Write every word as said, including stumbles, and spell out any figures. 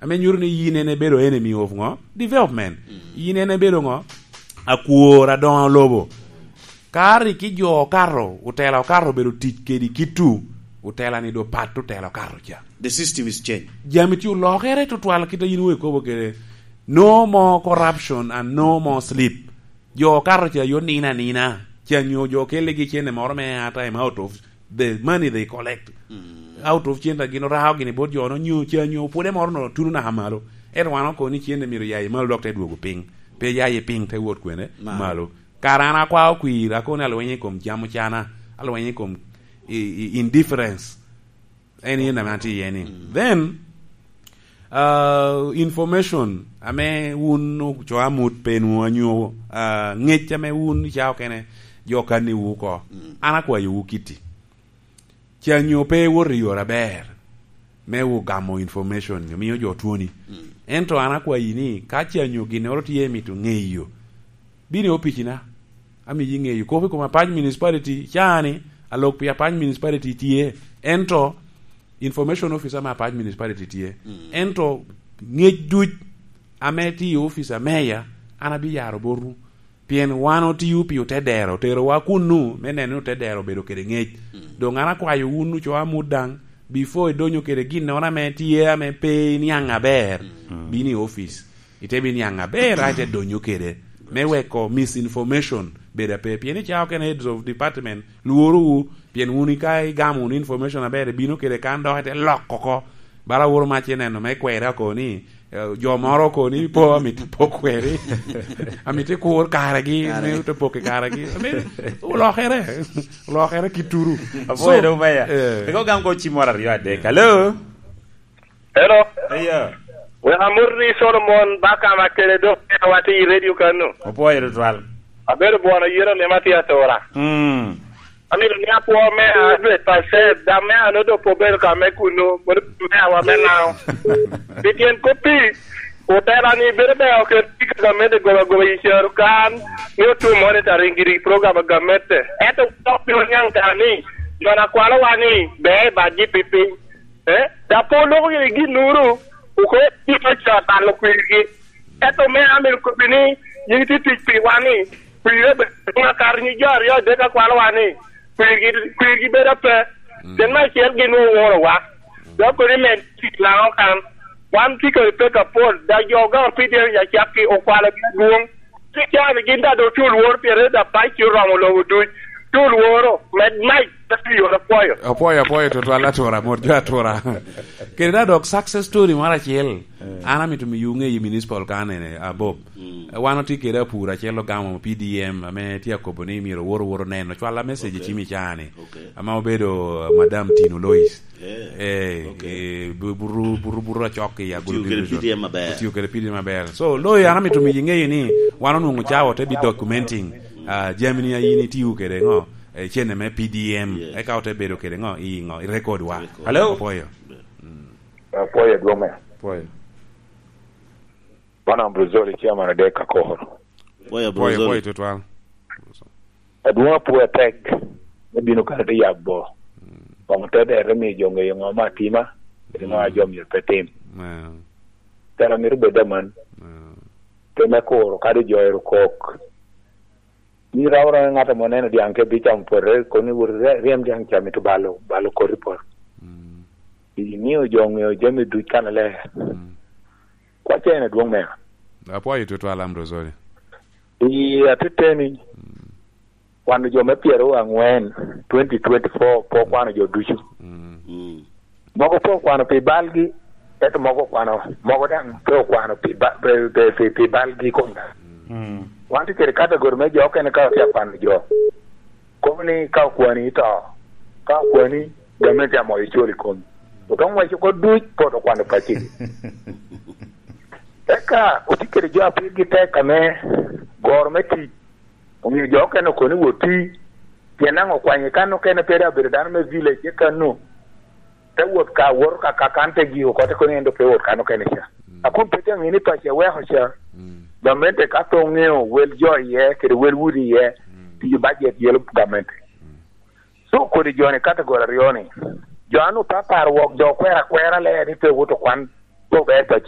Ame nyuto ni yin en ebedo enemy of ngo? Development. Yin en ebedo ngo? Akwor adoŋo lobo. Ka rik i jo okato, otela okato obedo tic kedi kittu, otela ni do pat otela okato ca. The system is changed. Jami tye olokere tutwal kit a yin wek kobo kede. No more corruption and no more sleep. Jo okato ca yo nina nina. Ca nyo jo kelegi cene moro me airtime out of the money they collect. Out of cene gin orao gini bot jo no nyo ca nyo pwode moro no tuno naka malo. Ento wan oko ni cene myero ya i malo dok te dwogo piny. Pe ya i piny te wot kwene malo. Kara an akwao kwir, akobo ni alweny i kom jam ocana, alweny i kom i, i, indifference. En yen ame atye iye ni. Then, uh, information ame wun ocoa mut pe nwo anyo, uh, ngec ame wun ica okene jo kanni wu oko. An akwayo wu kiti. Ca nyo pe iwoto i yore aber me wu gamo information, omiyo jo twoni. Ento an akwayi ni, ka ca nyo ginnoro tye mito ŋeyo, bino i opici na, amiyi ŋeyo. Kop i kom Apac Municipality, ca ni, alok pi Apac Municipality tye, ento information officer me Apac Municipality tye. Ento ngec duc ame tye i office a meya, an abi yaro botwu. Pien wan otio pi otedero, oterowa kunnu me neno ni otedero obedo kede ŋec. Doŋ an akwayo wun ocoa mut daŋ, before idonyo kede ginnoro ame tye ame pe iniaŋ aber, bino i office. Ite bino niaŋ aber, a ite donyo kede. Me weko misinformation bedo ape. Pien i cawa okene heads of department lworowu, pien wun ka igamo wunu information aber, ibino kede kan dok ite loko oko. Bala woro mac ineno me kwera oko ni, eh, jo moro oko ni po amito po kweri. Amito ikur karegi, me te pok i karegi. Amito olokere. Olokere kituru. Apoya do meya. Eh. Ego gam ko cimoro aryo adek. Hello? Hello? Eya. Wek amot ni Solomon ba kama kede dok watye i radio kano. Apoya do twal. Abedo bwono yero lima tye atura. Mm. Amito ni apwo me hundred percent, dam me ano do po bedo ka me kunu, bot me awa me nao. Pi tyen koppi, otela ni bedo me oket pi gamente goba goba i caro kan, ni otum monitoring giri program gamente. Ento dok bino niaŋ kara ni, jo na kwalo wa ni, be ba ji pi piny. Eh, da po loko gini gin nuru, uko ni pa ca talo kwirgi. Ento me amir kobbi ni, yin ti tic pi wa ni, kwire be, nga kar ni jo aryo adek akwalo wa ni, kwirgi, kwirgi bedo ape. Cen me acel gin woro wa. Dok kodi me tic laŋo kan. Wan ti kodi pek apol, da jo ga pide ya cakki okwalo gi adwong. Ti can gin da do tul wor pire da pac ci oromo lobo duc. Tul woro, med mac, ta ti yoro pwoyo. Apwoyo, apwoyo, tutwal atura, mot jo atura. Kede da dok success story moro acel. Eh. An amito miyo ŋeyo municipal kan ene, Abob. Mm. Eh, wan otye kede apur acel ogamo P D M, ame tye akobo ni myero owor owor oneno. Cwala message i cimi cani. Okay. Ama obedo, uh, Madam Tino Lois. Eh, eh, bu-, buru, buru, buru acok i Agulu Division. Otio kede P D M maber. Otio kede P D M maber. So, Lois, an amito miyo ŋeyo ni wan onwoŋo cawa te bi documenting, uh, jami ni a yin itio kede ŋo, eh, cene me P D M. Yes. Eka ote bedo kede ŋo, i ŋo, i record wa. Record. Hello? Apoyo. Apwoyo adwoŋ me. Pwoyo. Wan Ambrozoli, chairman adek ka koro. Pwoyo, Pwoyo, Ambrozoli. Pwoyo tutwal. Adwoŋ apwoyo atek me bino kare te yabo. Koŋ te dere miyo jo ŋeyo ŋo ma atima, kede ŋo a jo myero pe tim. Tera mito bed aman. Te me kuro kadi jo ero kok. Ni rawra ŋat amo neno dyaŋ ke bicamo pote, kono ni wot ry-, ryem dyaŋ ca mito balo, balo koti pot. Imio jo ŋeo jami duc kan aler. Kwaca en adwoŋ mea. Apwoyo tutwal, Ambrozoli. I ateteni, kwano jo me pyero angwen, twenty twenty-four, pe okwano jo ducu. Mogo pe okwano pi balgi, ento mogo okwano, mogo daŋ pe okwano pi ba-, pe, pe, pi, pi balgi kom. Wan tye kede category me jo okene ka otye akwano jo. Kobo ni ka okwani ito, ka okwani, gamente amoyo icol i komi. Otoŋ waco oko duc, pe oto kwano pacci. Eka otye kede jo a pirgi tek ame goro me tic. Omiyo jo okene okoni wot ti, pien naŋ okwanyo kan okene pe dok obedo dano me village, eka nu te wot ka, woto ka, ka kan te giko oko, te kono en dok pe wot kan okene ca. A kun pe te ŋe ni paco eweko ca, gamente ka pe oŋeo wel jo iye, kede wel udi iye, tiyo bajet yelo gamente. So kodi jo-ni category aryo-ni, jo a nut apar wok jo okwero akwera ler ni pe owot okwan, pe ober paco.